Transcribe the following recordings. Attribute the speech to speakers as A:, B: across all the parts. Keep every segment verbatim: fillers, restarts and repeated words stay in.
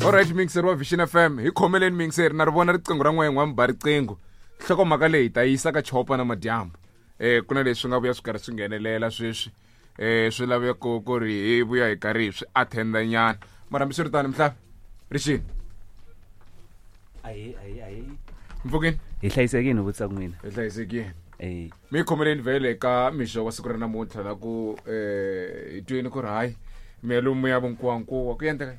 A: Alright mixer wa Vision F M hi khomeleni mixer na ri vona riqingho ra n'we n'wa mba riqingho nhlokomhaka leyi ta yisa ka chopa na madyambu eh ku na leswi nga vuya swi karhi swi nghenelela sweswi eh swi laveko ku ri hi vuya hi karhi swi attenda nyana mara hambiswiritano mhlavi rixini
B: ayi ayi ayi
A: mpfukini
B: hi hlayisekini vutisa n'wina
A: hi hlayisekini
B: eh
A: mi khomeleni vhele ka mixo wa siku ra namuntlha la ku eh hi twini ku ri hayi mi ya lomu ya vunkuwankuwa ku endleka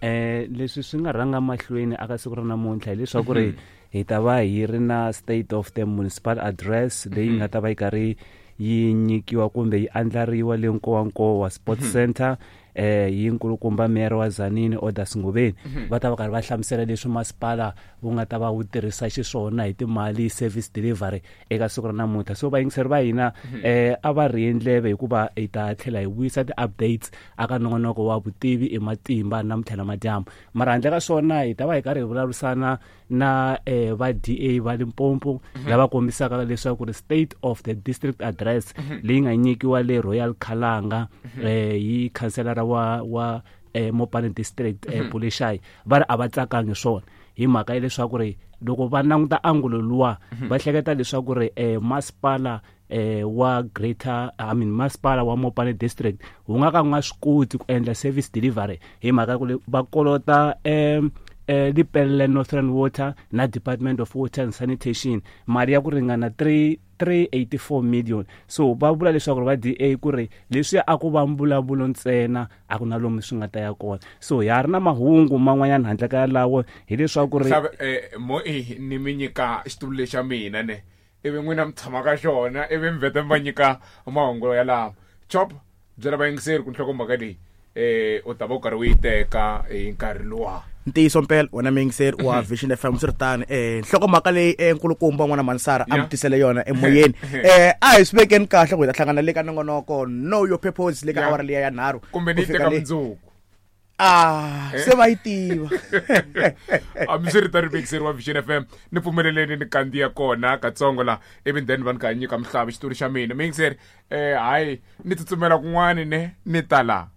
B: eh leswi swi nga rhanga mahlweni aka siku ra namuntlha hileswaku ri hi ta va hi ri na state of the municipal address leyi nga ta va yi karhi yi nyikiwa kumbe yi andlariwa le Nkowankowa Sports Center eh yi nkulukumba mayor wa Tzaneen Odas Ngobeni va ta va karhi va hlamusela leswi masipala wu nga ta va wu tirhisa xiswona hi timali service delivery eka siku ra namuntlha. So vayingiseri va hina eh a va ri ndleve hikuva hi ta tlhela hi vuyisa ti-updates aka nongonoko wa vutivi i matimba namuntlha na madyambu. Mara handle ka swona hi ta va hi karhi hi vulavurisana na eh va D A va Limpopo lava kombisaka leswaku ri state of the district address leyi nga nyikiwa le Royal Khalanga eh hi councillor wa wa eh, Mopani district eh, Puleshai va ri a va tsakangi swona hi mhaka ya leswaku ri loko va languta angulo luwa va hleketa leswaku ri eh, masipala eh, wa greater I mean masipala wa Mopani district wu nga ka wu nga swi koti ku endla service delivery hi mhaka ya ku va kolota eh, eh Lepelle Northern Water na Department of Water and Sanitation mali ya ku ringana three three eighty-four million. So va vula leswaku va D A ku ri leswi a ku va mbulavulo ntsena a ku na lomu swi nga ta ya kona. So ya ri na mahungu man'wanyana handle ka yalawo hileswaku ri
A: eh mo i ni mi nyika xitulu lexa mina ne ivi n'wina mi tshama ka xona ivi mi vheta mi va nyika mahungu yalawo. Chop byela vayingiseri ku nhlokomhaka leyi eh u ta va u karhi u yi teka hi nkarhi luwa.
C: Ntiyiso mpela wena muyingiseri wa Vision F M swi ri tano eh nhlokomhaka leyi enkulukumba n'wana Mansara a mi tisele yona emoyeni eh a hi swi vekeni kahle ku hi ta hlangana le ka nongonoko Know Your Purpose le ka awara liya ya nharhu
A: kumbe ni teka mundzuku
C: ah se va yi tiva.
A: Hambiswiritano muyingiseri wa Vision F M ni pfumeleleni ni kandziya kona katsongo la ivi then va ni ka nyika mhlavi xitulu xa mina muyingiseri eh hayi ni tsutsumela kun'wani ne ni ta la.